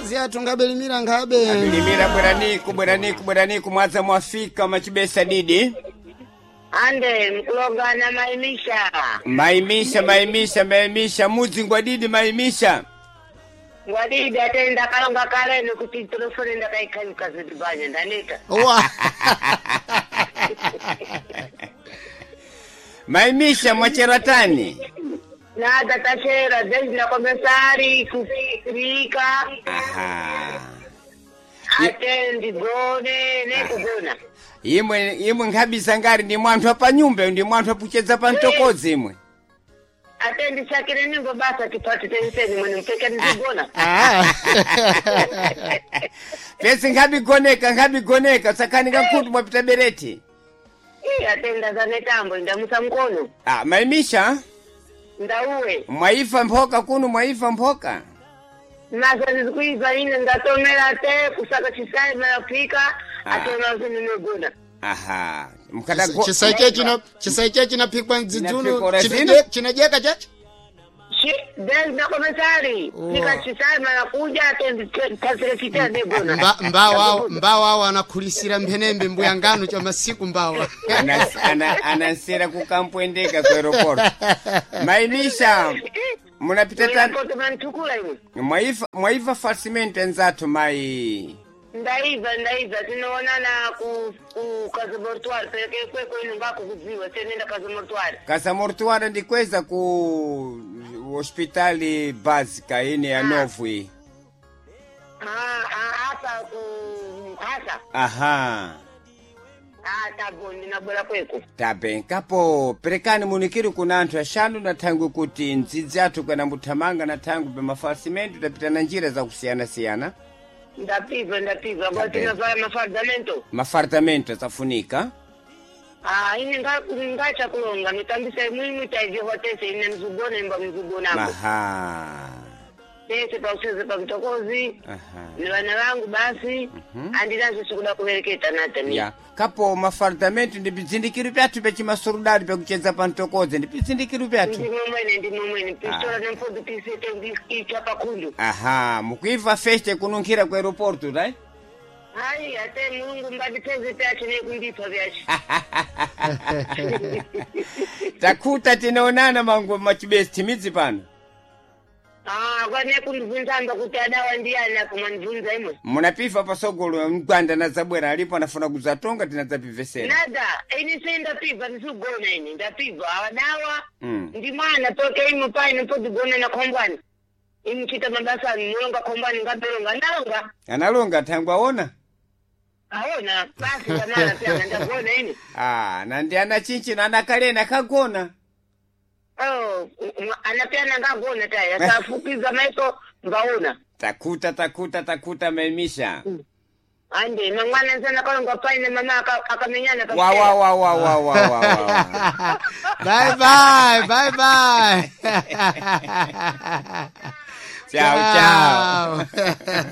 Mtsokozi athu ngabelimira nkhabe. Abilimira bweraniku bweraniku bweraniku mwadza mwafika machibesa didi. Ande mkulongana maimisha. Maimisha maimisha maimisha mudzi ngwadidi maimisha. Ngwadidi ate ndakalonga kale nikuti telefoni ndakaikanyuka zidibanya ndaneta. Wa. Maimisha mwacheratani. Nada tachera desde na komesari kufika Aha. ate ndigone nekugona. Imwe imwe nkhabisa ngari ndi mwanthu apanyumba ndi mwanthu apuchedza pa mtokodzi imwe. Ate ndisakire nimbo basa tipati teniseni mwene mpeke ndigona. Ah. Pesi nkhabigoneka nkhabigoneka sakhanika nkhutu mwapita bereti. Ii, ate ndazanetambo ndamusa mkono. Ah, maimisha Ndauwe. mwaifa mphoka kuno mwaifa mphoka. Masa ndikuiva ine ndatomera te kusaka chisai mayafika Ah. ate mazo ninogona. Aha. Mkadago Chisaiche chino chisaiche chinaphikwa mdzidzulo Chinaphikwa zino? chinajeka chacho. Desde na komesari Oh. nika chisai mayakuja ate ndikasire chitea negona. Mbawa mbawa anakhulisira mphenembe mbuya ngano cha masiku mbawa. Anansera kukampwendeka ku aeroport. Maimisha munapita tani Koto mantukula imwe. mwaifa mwaifa falsimento enzathu mai. Ndaiva ndaiva tinoonana ku ku kazabortuar pereke kweko ino ngako kudziwa tenenda kazabortuar. Kasamortuara ndikweza ku hospitali básica ine ya novo iyi. Ah ah hapa ku hasa. Aha. Ah tabo ndinabwera kweko. Tabenkapo perekani munikiri kuna anthu axanu na thangwi kuti ndzidzi athu kana muthamanga na thangwi pa mafalsimento tapita na njira zakusiyana-siyana. Ndapiva ndapiva Tabe. kwa tinovala mafardamento. Mafartamento asafunika. Ah ine ngacha kulonga mitambisa imwe taivihwa tese ine mzugona imba mzugonako. Aha. Tese pauseze pamtokozi. Aha. Ni vana vangu basi andinazo sikuda kuvereketa nata Ya. Kapo mafardamento ndi bzindikiro pyathu pyachimasurudali pyakuchedza pa mtokodzi ndi bzindikiro pyathu. Ndimo mwene ndimo mwene pistola namfodo pisete ndiicha pakhundu. Aha, mukuiva feste kununkhira ku aeroporto, right? Hayi ate mulungu mbandipeze pyacho nekundipha vyacho. Takhuta tinaonana mangu machibesi timidzi pano. Ah kwane kundibvunzamba kuti adawa ndiyani apo mwandibvunza imwe. Munapifa pasogolo mgwanda na zabwera alipo anafuna kudzatonga tinadzapivesera. Nada ini sei ndapibva ndisigona ini ndapibva awadawa Mm. ndi mwana toke imo paine podigona na khombwani. Imuchita mabasa anu mulonga khombwani ngaberonga ndalonga. Analonga thangwi aona? Aona basi kamala pyana ndagona ini. Ah, nandi ana chinchino anakalena kagona. Oh, anapyana ngagona taya akafukiza maiko mbaona. Takuta takuta takuta maimisha. Ande mangwana nsana kalonga paine mama akamenyana Wa wa wa wa wa wa wa. wa. Bye bye, bye bye. Ciao ciao. Ciao.